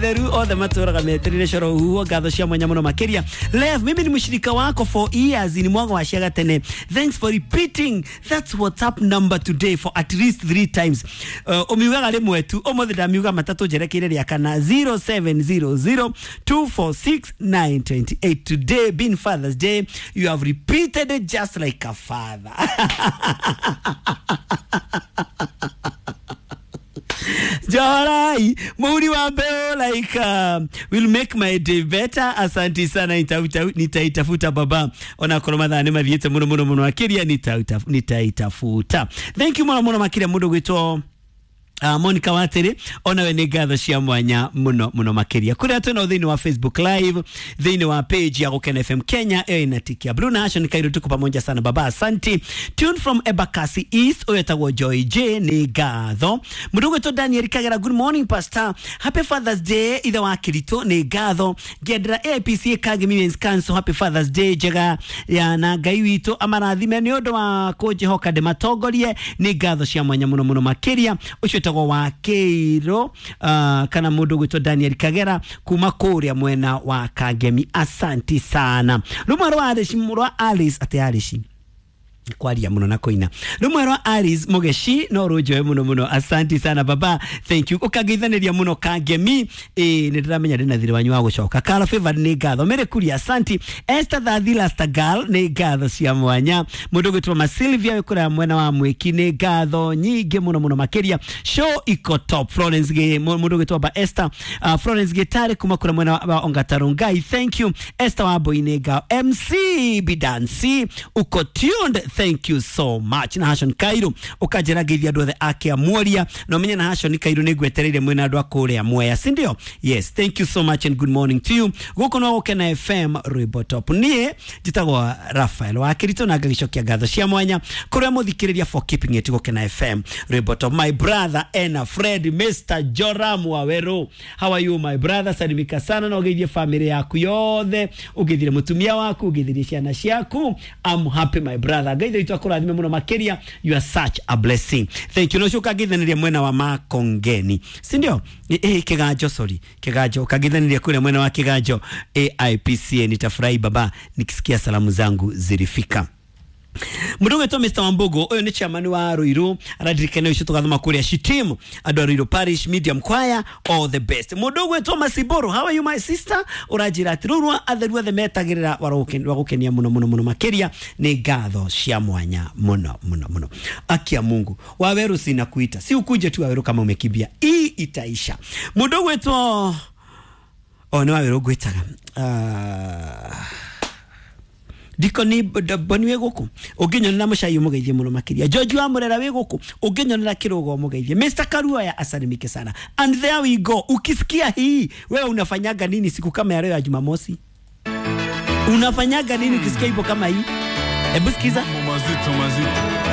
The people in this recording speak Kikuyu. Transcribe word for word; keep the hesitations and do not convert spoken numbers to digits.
Theru othe matũraga meterire coro huo ngatho cia mwanya muno makiria. Lev, mimi ni mshirika wako for years, ni mwago wa ciaga tene. Thanks for repeating that's WhatsApp number today for at least three times. Uh, umiugaga rimwe tu umuthi ndamiuga matatu njerekeire ria kana zero seven zero zero two four six nine two eight. Today being Father's Day, you have repeated it just like a father. Jorai, muri wa mbeo like uh, will make my day better. Asante sana, nitaitafuta baba. Ona korwo mathaa nĩ mathiĩte mũno mũno mũno makĩria, nitaitafuta. Thank you mũno mũno makĩria mũndũ gwĩtwo Uh, Monica Wateri, ona we nĩ ngatho cia mwanya muno muno makiria. Kuria twina thĩinĩ wa Facebook Live, thĩinĩ wa page ya Gũkena F M Kenya, ĩyo ĩna tiki ya Blue Nation Kairo, tuko pamoja sana baba, asante. Tune from Embakasi East, ũyũ etagwo Joy J, nĩ ngatho. Mũndũ ũgwĩtwo Daniel Kagera, good morning pastor, happy Father's Day, ithe wa Kirito, nĩ ngatho. Ngĩendera A P C Kagemi Women's Council, happy Father's Day njega ya na Ngai witũ amarathime nĩ ũndũ wa kũnjĩhoka ndĩmatongorie, nĩ ngatho cia mwanya muno muno makiria. Ũcio wa Keiro uh, kana mundu gwitwo Daniel Kagera kuma kuria mwena wa Kagemi, asanti sana. Rumwe rwa Alice, rwa Alice ate Alice kwaria muno na koina. Rumwe rwa Alice Mugeshi no runjoe muno muno, asanti sana baba, thank you. Ukageithaniria muno Kagemi, eh ni ndiramenya ndina thiri wanyu wa gucoka. Kala Favor ni ngatho, Mere Kuria asanti, Esther Thathi Lasta Girl ni ngatho cia mwanya. Mundu gwitwo Ma Sylvia wikura mwena wa Mwiki ni ngatho nyingi muno muno makiria. Show iko top. Florence ge mundu gwitwo ba Esther uh, Florence Gitare kuma kura mwena wa Ongatarungai, thank you. Esther wa Boine ga M C Bidansi uko tuned, thank you so much. Na Hashon Kairo ukanjira ngeithia andu othe ake amuoria no menye na Hashon Kairo ni ngwetereire mwena andu akuria Mwea, si ndio? Yes, thank you so much and good morning to you. Guku no Gũkena F M Rwimbo Top. Nie njitagwo Raphael wa Kirito na ngagicokia ngatho cia mwanya kuria muthikiriria for keeping it Gũkena F M Rwimbo Top. My brother Ena Fred, Mister Joram Waweru, how are you my brother? Salimika sana na ugeithie family yaku yothe, ugeithire mutumia waku, ugeithirie ciana ciaku. I'm happy my brother. Ngai witũ akũrathime mũno makiria, you are such a blessing, thank you. No coka ngithaniria mwena wa Makongeni, si ndio? Eh, Kiganjo, sorry, Kiganjo, kangithaniria kule mwena wa Kiganjo A I P C A. Nitafurahi baba nikisikia salamu zangu zilifika. Mundu gwitwo Mister Wambugu, uyu ni chairman wa Ruiru, aradirikana ucio tugathoma kuria Shitimu, andu a Ruiru Parish Medium Choir, all the best. Mundu gwitwo Masiboro, how are you my sister? Uranjira ati rurwa atheru othe metagirira wa gukenia muno muno muno makiria, ni ngatho cia mwanya muno muno muno. Akia Mungu Waweru, sina kuita, si ukuje tu Waweru kama umekimbia, hii itaisha. Mundu gwitwo oh ni Waweru ngwitaga uh, Dikoni Boni wĩ gũkũ ũngĩnyonera mũcai ũmũgeithie mũno makĩria. George wa Murera wĩ gũkũ ũngĩnyonera kĩrũgo ũmũgeithie. Mister Karuaya asalimike sana. And there we go. Ukisikia hii wewe unafanyaga nini siku kama ya leo ya Jumamosi? Unafanyaga nini ukisikia ipo kama hii? Hebu sikiza. Mazito mazito.